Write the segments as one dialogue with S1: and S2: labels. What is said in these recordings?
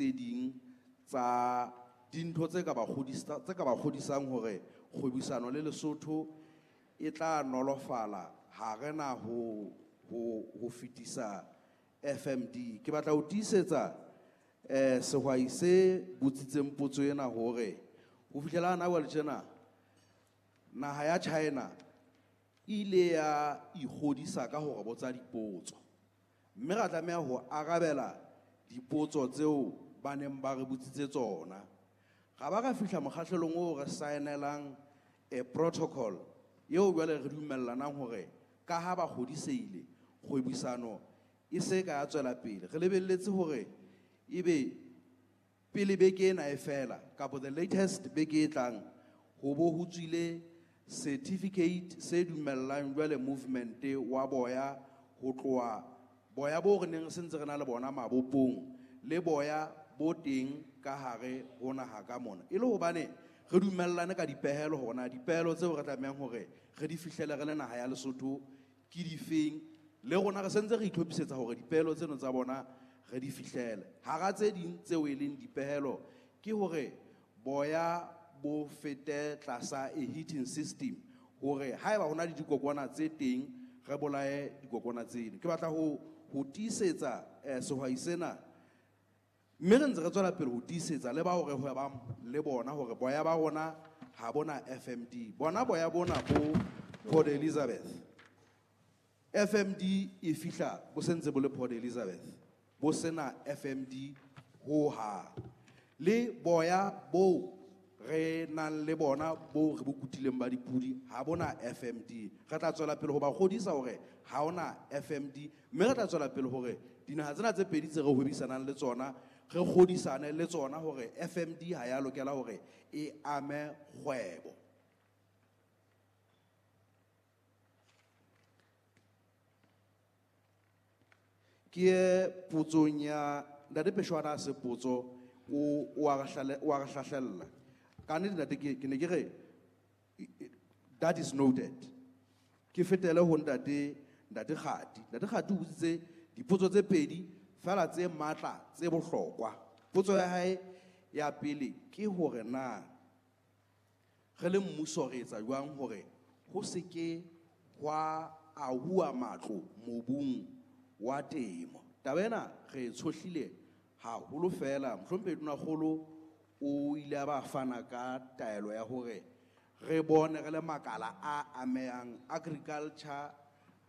S1: tse ding tsa dintho tse ka ba kgodisa, tse ka ba kgodisang hore kgwebisano le Lesotho e tla nolofala ha re na ho fetisa FMD. Ke batla ho tiisetsa sehwai se botsitseng potso ena hore ho fihlela hana jwale tjena naha ya China e ile ya ikgodisa ka hore botsa dipotso, mme ra tlameha ho arabela dipotso tseo ba neng ba re botsitse tsona. Ra ba ra fihla mokgahlelong oo re saenelang a protocol eo jwale re dumellanang hore ka ha ba kgodiseile kgwebisano e se ka ya tswela pele. Re lebelletse hore ebe pele beke ena e fela kapa the latest beke e tlang ho bo ho tswile certificate se dumellang jwale movement wa boya ho tloha boya bo re neng re sentse re na le bona mabopong le boya bo teng ka hare ho naha ka mona, e le hobane re dumellane ka dipehelo hore na dipehelo tseo re tlamehang hore re di fihlele re le naha ya Lesotho ke difeng, le rona re sentse re itlhophisetsa hore dipehelo tseno tsa bona re di fihlele. Hara tse ding tseo e leng dipehelo ke hore boya bo fete tlasa a heating system hore haeba hona le dikokwana tse teng re bolaye dikokwana tseno. Ke batla ho tiisetsa sehwai sena, mme re ntse re tswela pele ho tiisetsa le bao re hwebang le bona hore boya ba rona ha bona FMD. Bona boya bona bo Port Elizabeth, FMD e fihla bo sentse bo le Port Elizabeth, bo sena FMD ho hang. Le boya bo re nang le bona bo re bo kutileng ba dipudi ha bona FMD. Re tla tswela pele ho ba kgodisa hore ha hona FMD, mme re tla tswela pele hore dinaha tsena tse pedi tse re hwebisanang le tsona re kgodisane le tsona hore FMD ha ya lokela hore e ame kgwebo. Ke ye potsong ya Ntate Peshwana, se potso o a re hlahlella. Ka nnete ntate, ke ne ke re that is noted. Ke fetele ho ntate Kgati. Ntate Kgati o botsitse dipotso tse pedi fela tse matla tse bohlokwa. Potso ya hae ya pele ke hore na re le mmuso re etsa jwang hore ho se ke hwa ahuwa matlo mobung wa temo. Taba ena re e tshohlile haholo fela, mohlomphehi Tonakgolo o ile a ba fana ka taelo ya hore re bone re le makala a amehang agriculture,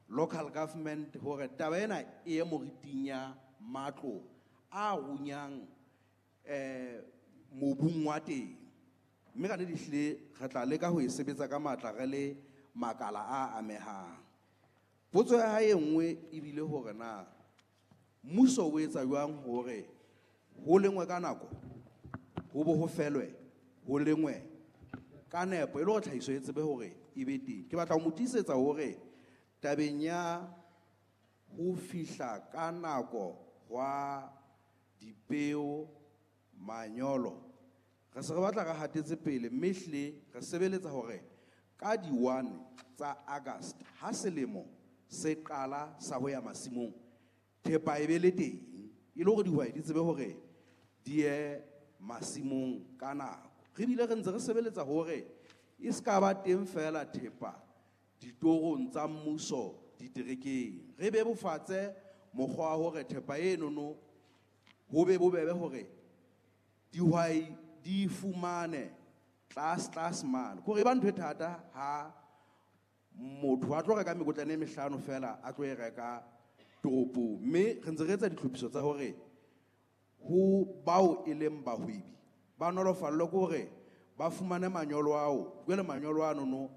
S1: local government, hore taba ena e ye moriting ya matlo a runyang mobung wa teng. Mme ka nnete ehlile re tla leka ho e sebetsa ka matla re le makala a amehang. Potso ya hae e nngwe ebile hore na mmuso o etsa jwang hore ho lengwe ka nako, ho bo ho felwe ho lengwe ka nepo, e le hore tlhahiso e tsebe hore e be teng. Ke batla ho mo tiisetsa hore tabeng ya ho fihla ka nako hwa dipeo, manyolo, re se re batla re hatetse pele, mme ehlile re sebeletsa hore ka di-1 tsa August ha selemo se qala sa ho ya masimong, thepa e be le teng, e le hore dihwai di tsebe hore di ye masimong ka nako. Re bile re ntse re sebeletsa hore e se ka ba teng fela thepa ditorong tsa mmuso diterekeng. Re bebofatse mokgwa wa hore thepa enono ho be bobebe hore dihwai di fumane tlase tlase mane. Kore e ba ntho e thata ha motho a tlo reka mekotlana e mehlano fela a tlo e reka toropong. Mme re ntse re etsa ditlhophiso tsa hore ho bao e leng bahwebi ba nolofallwe ke hore ba fumane manyolo ao. Jwale manyolo ano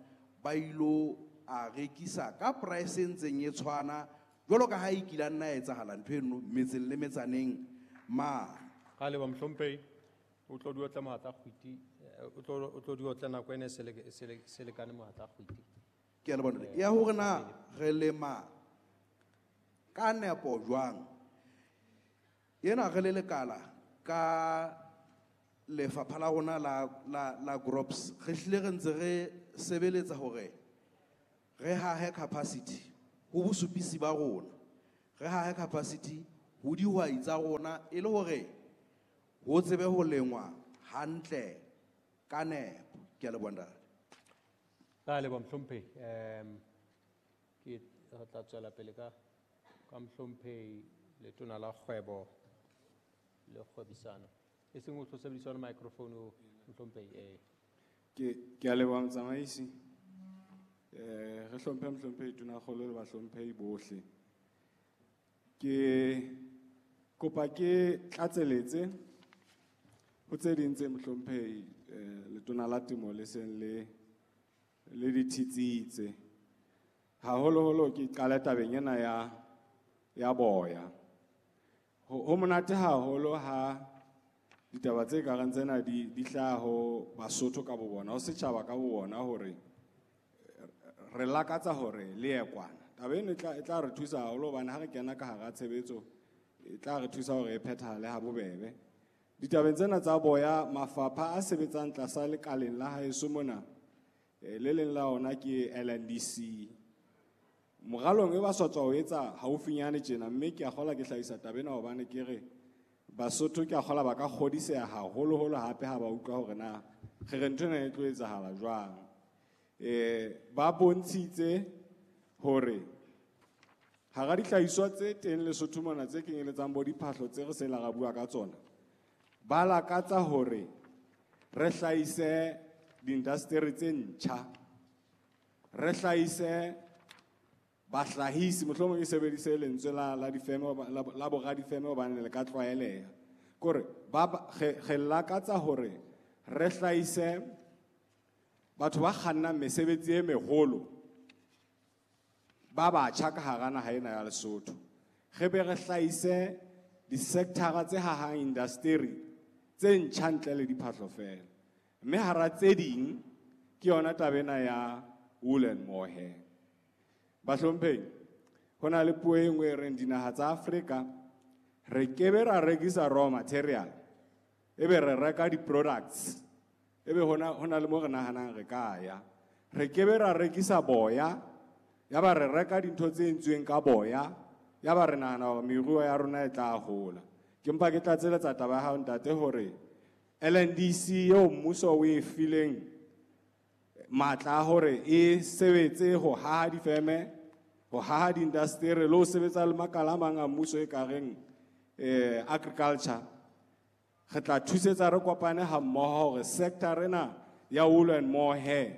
S1: ba ilo a rekisa ka price e ntseng e tshwana jwalo ka ha e kile nna ya etsahala ntho eno metseng le metsaneng mane.
S2: Ga leba mohlomphehi, o tlo di otla mohatla kgwiti, o tlo di otla nako ena e se lekane mohatla kgwiti.
S1: Ke a leboha ntate. Ya hore na re lema ka nepo jwang, ena re le lekala ka lefapha la rona la crops, re hlile re ntse re sebeletsa hore re hahe capacity ho bosupisi ba rona, re hahe capacity ho dihwai tsa rona, e le hore ho tsebe ho lengwa hantle ka nepo. Ke a leboha, ntate.
S2: Ra leboha, mohlomphehi. Ke re tla tswela pele ka mohlomphehi Letona la Kgwebo le Kgwebisano. E seng o tlo sebedisa yona microphone o, mohlomphehi, eh.
S3: Ke a leboha, motsamaisi. Re hlomphe mohlomphehi Tonakgolo le bahlomphehi bohle. Ke kopa ke tlatseletse ho tse ding tse mohlomphehi Letona la Temo le seng le di thitsitse. Haholoholo ke qale tabeng ena ya boya. Ho monate haholo ha ditaba tse kareng tsena di hlaha ho Basotho ka bo bona, ho setjhaba ka bo bona, hore re lakatsa hore le ye kwana. Taba eno e tla re thusa haholo hobane ha re kena ka hara tshebetso, e tla re thusa hore e phethahale ha bobebe. Ditabeng tsena tsa boya, mafapha a sebetsang tlasa lekaleng la haeso mona, le leng la ona ke LNDC. Moralong e ba sa tswa ho etsa haufinyane tjena, mme ke a kgolwa ke hlahisa taba ena hobane ke re Basotho ke a kgolwa ba ka kgodiseha haholoholo hape ha ba utlwa hore na re re ntho ena e tlo etsahala jwang. Ba bontshitse hore hara dihlahiswa tse teng Lesotho mona tse kenyeletsang bo diphahlo tse re seng ra bua ka tsona, ba lakatsa hore re hlahise diindasteri tse ntjha, re hlahise bahlahisi, mohlomong ke sebedise lentswe la difeme, la boradifeme hobane le ka tlwaeleha. Ke hore re lakatsa hore re hlahise batho ba kgannang mesebetsi e meholo ba batjha ka hara naha ena ya Lesotho. Re be re hlahise di-sector-a tse hahang indasteri tse ntjha ntle le diphahlo feela. Mme hara tse ding ke yona taba ena ya wool and mohair. Bahlomphehi, ho na le puo e nngwe e reng dinaha tsa Afrika re kebe ra rekisa raw material, ebe re reka di-products, ebe hona le mo re nahanang re ka ya. Re kebe ra rekisa boya, ya ba re reka dintho tse entsweng ka boya, ya ba re nahana hore meruo ya rona e tla hola. Ke mpa ke tlatseletsa taba ya hao, ntate, hore LNDC eo mmuso o e fileng matla a hore e sebetse ho haha difeme, ho haha diindasteri le ho sebetsa le makala a mang a mmuso e kareng, agriculture. Re tla thusetsa re kopane ha mmoho hore sector ena ya wool and mohair,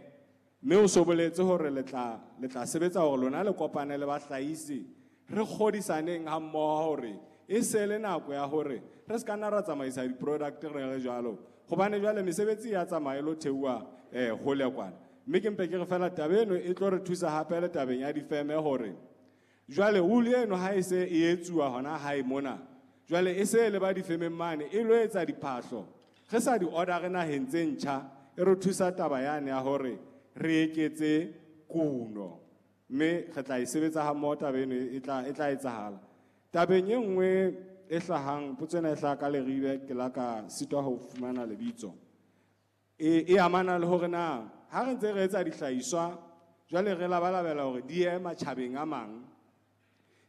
S3: mme o so boletse hore le tla sebetsa hore lona le kopane le bahlahisi, re kgodisaneng ha mmoho hore e se le nako ya hore re se ka nna ra tsamaisa di-product re le jwalo, hobane jwale mesebetsi ya tsamaya e lo theoha, hole kwana. Mme ke mpe ke re fela taba eno e tlo re thusa hape le tabeng ya difeme hore jwale wool eno ha e se e etsuwa hona hae mona, jwale e se le ba difemeng mane e lo etsa diphahlo, re sa di order naheng tse ntjha, e re thusa taba yane ya hore re eketse kuno, mme re tla e sebetsa ha mmoho taba eno e tla etsahala. Tabeng e nngwe e hlahang, potso ena e hlaha ka Leribe, ke la ka sitwa ho fumana lebitso. E amana le hore na ha re ntse re etsa dihlahiswa jwale re labalabela hore di ye matjhabeng a mang,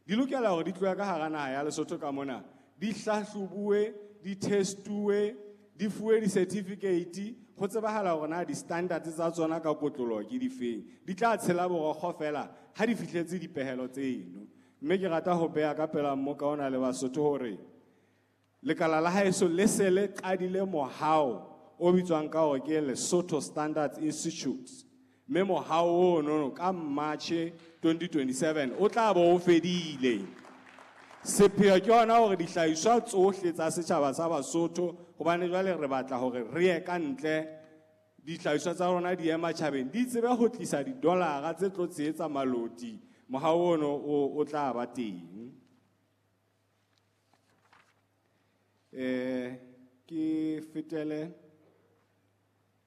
S3: di lokela hore di tlohe ka hara naha ya Lesotho ka mona, di hlahlobuwe, di testuwe, di fuwe di-certificate, ho tsebahala hore na di-standards tsa tsona ka kotloloho ke difeng. Di tla tshela borokgo fela ha di fihletse dipehelo tseno. Mme ke rata ho beha ka pela mmoka ona le Basotho hore lekala la haeso le se le qadile mohao o bitswang ka hore ke Lesotho Standards Institute. Mme mohao ono ka March 2027 o tla bo o fedile. Sepheo ke hona hore dihlahiswa tsohle tsa setjhaba sa Basotho, hobane jwale re batla hore re ye ka ntle, dihlahiswa tsa rona di ye matjhabeng, di tsebe ho tlisa di-dollar-a tse tlo tshehetsa maloti. Mohao ono o tla ba teng. Ke fetele,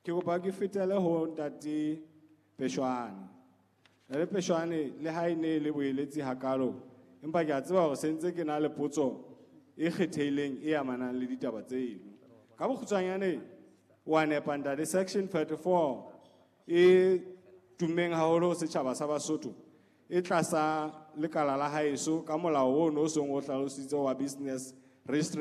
S3: ke kopa ke fetele ho Ntate Peshwane. Ntate Peshwane, le ha e ne le boeletsi hakalo, empa ke a tseba hore sentse ke na le potso e kgethehileng e amanang le ditaba tseno. Ka bokgutshwanyane, wa nepa ntate, section 34 e tummeng haholo ho setjhaba sa Basotho, e tlasa lekala la haeso ka molao ono o seng o hlalositse wa Business Registration